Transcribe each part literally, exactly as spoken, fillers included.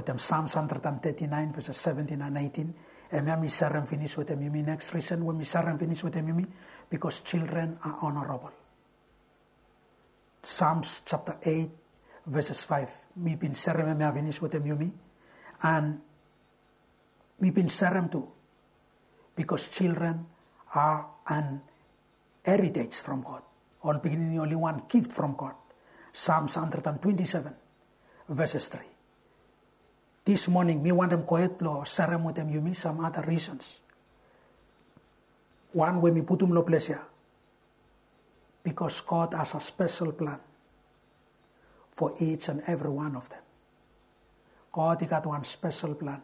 Wetem Psalms hundred and thirty-nine verses seventeen and eighteen. Hemia mi serem finis wetem yumi. Next reason we mi serem finis wetem yumi, because children are honorable. Psalms chapter eight verses five. Mi bin serem hemia finis wetem yumi. And mi bin serem tu, because children are an heritage from God. Ol pikinini oli wan gift from God. Psalms hundred and twenty-seven verses three. This morning mi wantem gohed lo serem wetem yumi some other reasons. Wan we mi putum lo ples ya, because God has a special plan for each and every one of them. God i gat wan special plan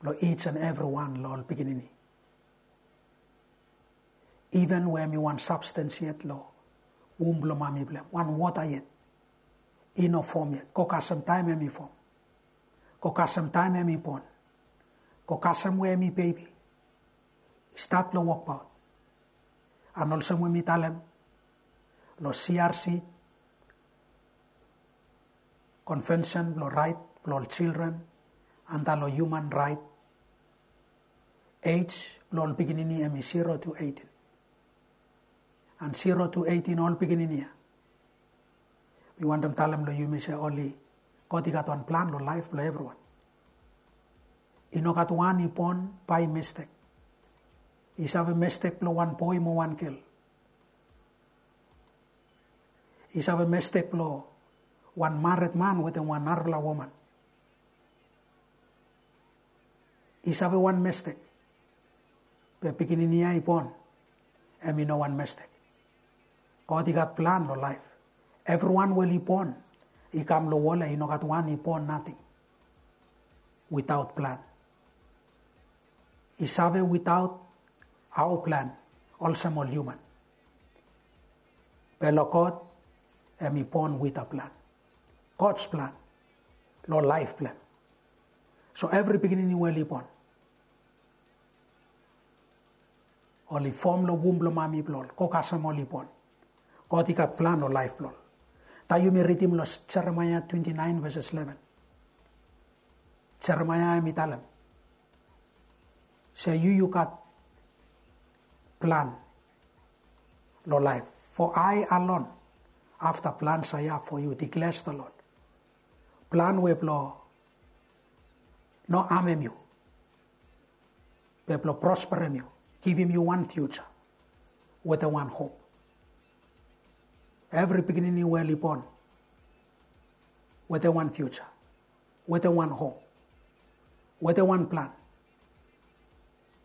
lo each and every one lo ol pikinini. Even we hemi wan substance yet lo womb blo mami blo hem, wan wota yet, i no fom yet, go kasem taem hemi fom, go kasem taem hemi bon, go kasem we hemi bebi i stat lo wokbaot. And olsem we mi talem lo C R C, Convention blo Rait blo ol Children anda lo Human Right, age blo ol pikinini hemi zero to eighteen. And zero to eighteen ol pikinini ya, mi wantem talem lo yumi se oli, God i gat wan plan lo laef blo evriwan. I no gat wan i bon by mistake. I save mistake blo wan boe mo wan gel. I save mistake blo wan mared man wetem wan narafala woman. I save wan mistake. Be pikinini ya i bon, hemi no wan mistake. God i gat plan lo laef. Evriwan we oli bon i kam lo wol ya, i no gat wan i bon nating witaot plan. I save witaot aoa plan olsem ol human. Be lo God, hemi bon wit a plan. God's plan lo laef blo hem. So evri pikinini we oli bon, oli fom lo womb blo mami blo ol, go kasem oli bon, God i gat plan lo laef blo ol. Taem yumi ridim lo Jeremaia twenty-nine verses eleven. Jeremaia hemi talem se yu, yu gat plan lo laef. For I alone have the plans I have for you, declares the Lord. Plan we blo no amem yu, be blo prosperem yu, givim yu wan future wetem wan hop. Evri pikinini we oli bon wetem wan future, wetem wan hop, wetem wan plan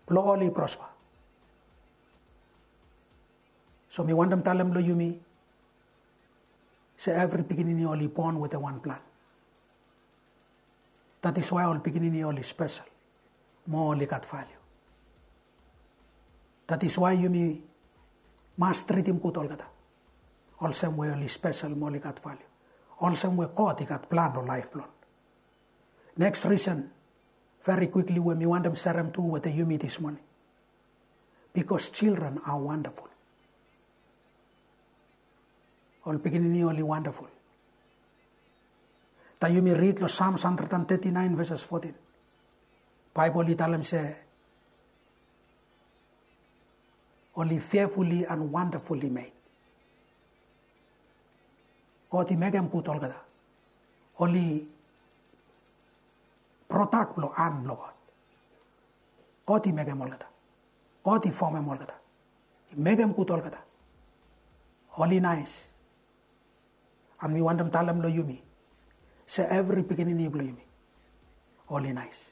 blo oli prosper. So mi wantem talem lo yumi se evri pikinini oli bon wetem wan plan. That is why ol pikinini oli spesel mo oli gat value. That is why yumi mas tritim gud olgeta olsem we oli spesel mo oli gat value, olsem we God i gat plan lo laef blo ol. Next reason, very quickly, we mi wantem serem tu wetem yumi this morning, because children are wonderful. Ol pikinini oli wonderful. Taem yumi rid lo Psalms hundred and thirty-nine verses fourteen, Baebol i talem se oli fearfully and wonderfully made. God i mekem gud olgeta. Oli product blo han blo God. God i mekem olgeta. God i fomem olgeta. I mekem gud olgeta. Oli naes. And mi wantem talem lo yumi se evri pikinini blo yumi oli naes.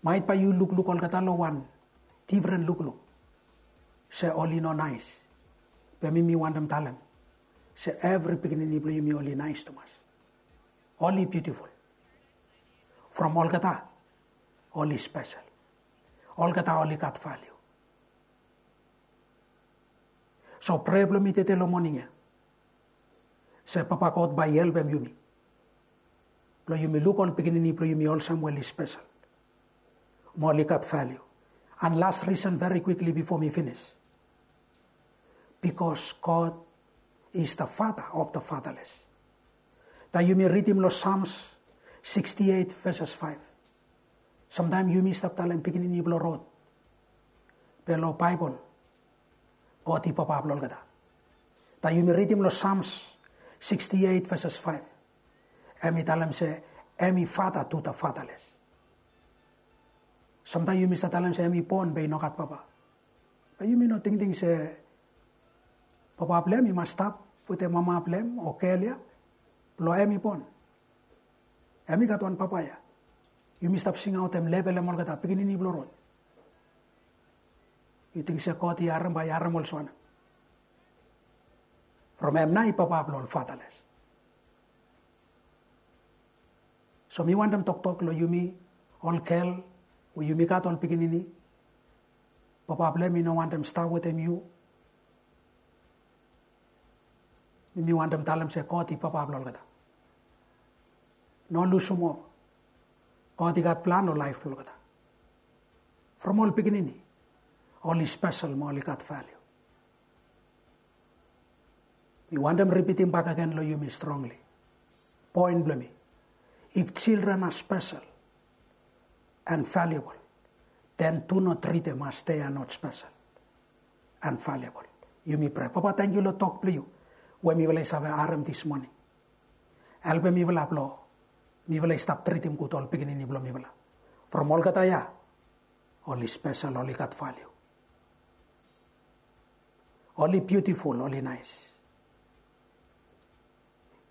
Maet bae yu lukluk olgeta lo wan difren lukluk se oli no naes. Be mi, mi wantem talem se evri pikinini blo yumi oli naes tumas. Oli beautiful. From olgeta oli spesel. Olgeta oli gat value. So prea blo mi tede lo moning ya se Papa God bae i helpem yumi blo yumi luk ol pikinini blo yumi olsem we oli spesel mo oli gat value. And last reason, very quickly before mi finis, because God is the Father of the fatherless. Taem yumi ridim long Psalms sixty-eight verses five. Samtaem yumi stap talem pikinini blong rod. Be long Baebol, God i papa blong olgeta. Taem yumi ridim long Psalms sixty-eight verses five, hem i talem se hem i father to the fatherless. Samtaem yumi stap talem se hem i bon be i no gat papa. Be yumi no tingting se papa blong hem i mas stap wetem mama blong hem o gel ya, blong hem i bon. Hem i gat wan papa ya. Yumi stap singaotem level blong olgeta pikinini blong rod. Yu ting se God i harem, bae i harem olsem wanem? From hem nao i papa blong ol fatherless. So mi wantem toktok long yumi ol gel we yumi gat ol pikinini, papa blong hem i no wantem stap wetem yu. Mi wantem talem se God i papa blong olgeta. No lusum hop. God i gat plan long laef blong olgeta. From ol pikinini, oli spesel mo oli gat valiu. Mi wantem ripitim bakegen long yumi strongli poen blong mi. If children are special and valuable, then do not treat them as they are not special and valuable. Yumi prea. Papa, tangkiu long tok blong yu we mifala i save harem dis moning. Helpem mifala blong mifala i stap tritim gud ol pikinini blong mifala. From olgeta ya, oli spesel, oli gat valiu. Oli biutiful, oli naes.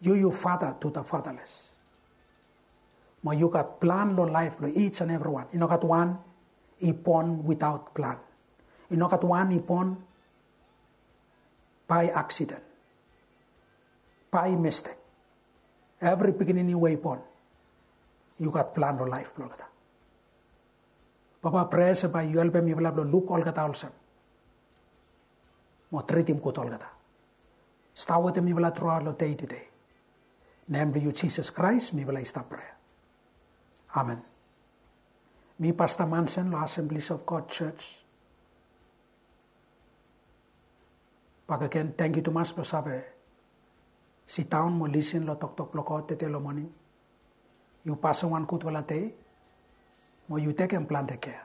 Yu, yu father to the fatherless. Mo yu gat plan long laef blong each and everyone. I no gat wan i bon without plan. I no gat wan i bon by accident, by mistake. Evri pikinini we i bon, yu gat plan long laef blong olgeta. Papa, prea se bae yu helpem mifala blong luk olgeta olsem mo tritim gud olgeta. Stap wetem mifala truaot long dei tude. Nem blong yu Jisas Kraes mifala i stap prea. Amen. Mi Pasta Mansen long Assemblies of God Church. Bakegen, tangkiu tumas blong save sidaon mo lisin long toktok blong God tede long moning. Yu pasem wan gudfala dei mo yu tekem plante kea.